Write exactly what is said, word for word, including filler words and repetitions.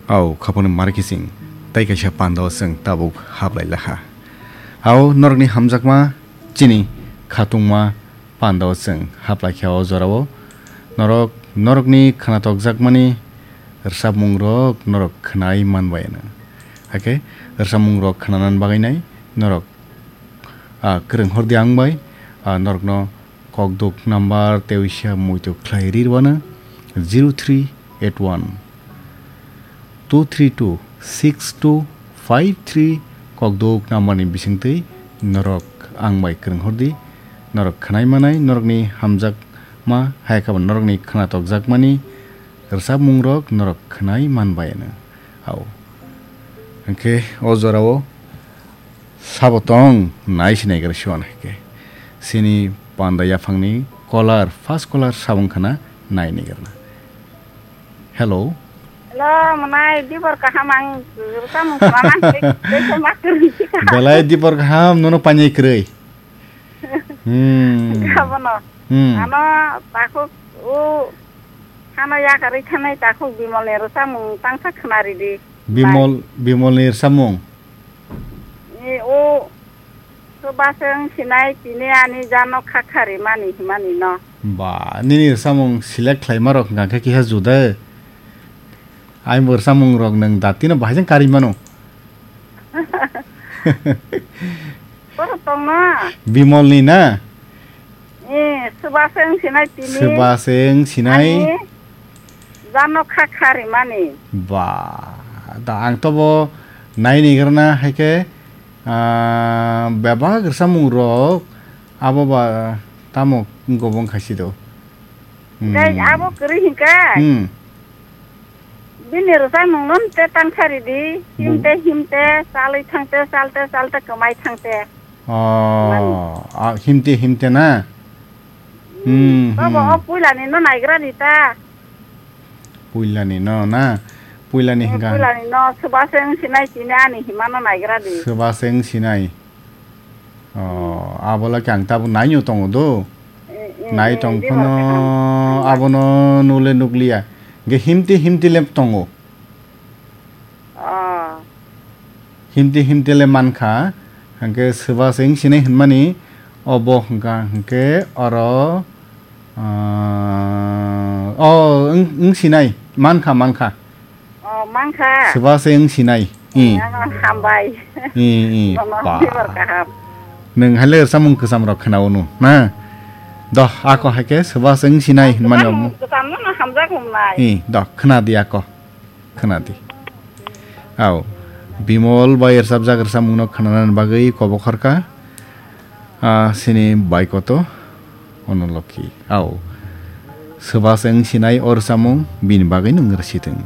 Au, khaponi markising, tei kaisa pando chwng tabuk hablai laha. Au, norokni hamjakma, chini khatungma pando chwng hablai kha o jorao. Norok, norokni khnatokjakmani rwchapmungrok norok khnai manbai ano. Hakhe rwchapmungrok khnanan bagwi nai norok, ah, kwrwng hor di ang bai, ah, norokno kokduk number tei uisa muitu khlai ri rwano zero three eight one two three two six two five three kokduk number ni bisingtwi norok ang bai kwrwng hor di. Norok khnai manai, norokni hamjakma hai khe bo norokni khnatokjakmani rwchapmungrok norok khnai manbai ano. Au. Hwnkhe o jorao sabo tong nai sinai gra siwan hai khe. Sini panda yaphangni caller, first caller sabo wngkha na nai nai gra na. Hello. Hello, mwnai, dibor kaham ang rwchapmung khna nang tei, tei khe ma kwrwi kha. Belai dibor kaham, nono painai kwrwi. Hmm. Abono. Hmm. Ano takhuk o hano yakarwi thanai takhuk Bimolni rwchapmung tangsa khna ridi. Bimol, Bimolni rwchapmung? E, o, soba se wng sinai tini ani jano kha kha rimani himani no. Ba, nini rwchapmung select khlaima rok hwnkha khe kiha juda. Ai bo rwchapmung rok nwng datino bahai jang karwi mano. Boro tongno. Bimolni na? Eh, soba se wng sinai tini. Soba se wng sinai. Ani jano kha kha rimani. Ba, da ang to bo nai ni grana hai khe, ah, bebak rwchapmung rok abo ba tamo gobong khaisi do. Hmm. Dai abo kwrwi hinkha. Hmm. Bini rwchapmung no te tangsa ridi, hmm, himte himte, chalwi thangte, chalte chalte, kwmai thangte. Oh, mani. Ah, himte himte na? Hmm, hmm, bobo hmm. O puilani no naigra di ta. Puilani no na? Puilani eh, hingka. Puilani no, soba se wng sinai tini ani hima no naigra di. Soba se wng sinai. Oh, abola khe ang tabuk naino tongo do. Eh, eh, nai eh, tong di phano ba kaham. Abono nule nukliya. Ge himti himti lep tongo. Oh. Himti himti le mankha. Hingke soba se wng sinai hinmani obo hingka hingke oro, ah, oh, wng, wng sinai. Mankha, mankha. Oh, mankha. Soba se wng sinai. I. Ano hambai. I, i, nono ba. Khibor kaham. Nwng hai le rwchapmung kwcham rok khna unu, na? Doh, ako hai khe soba se wng sinai hinmani omo. Kwcham no, no hamjak hum nai. I, doh, khna di ako. Khna di. Au. Bimol bai rwchapjak rwchapmung no khnanani bagwi kobokhorkha. Ah, sini bai koto Onolokhi. Au. Soba se wng sinai o rwchapmung bini bagwi nwng rwsitwng.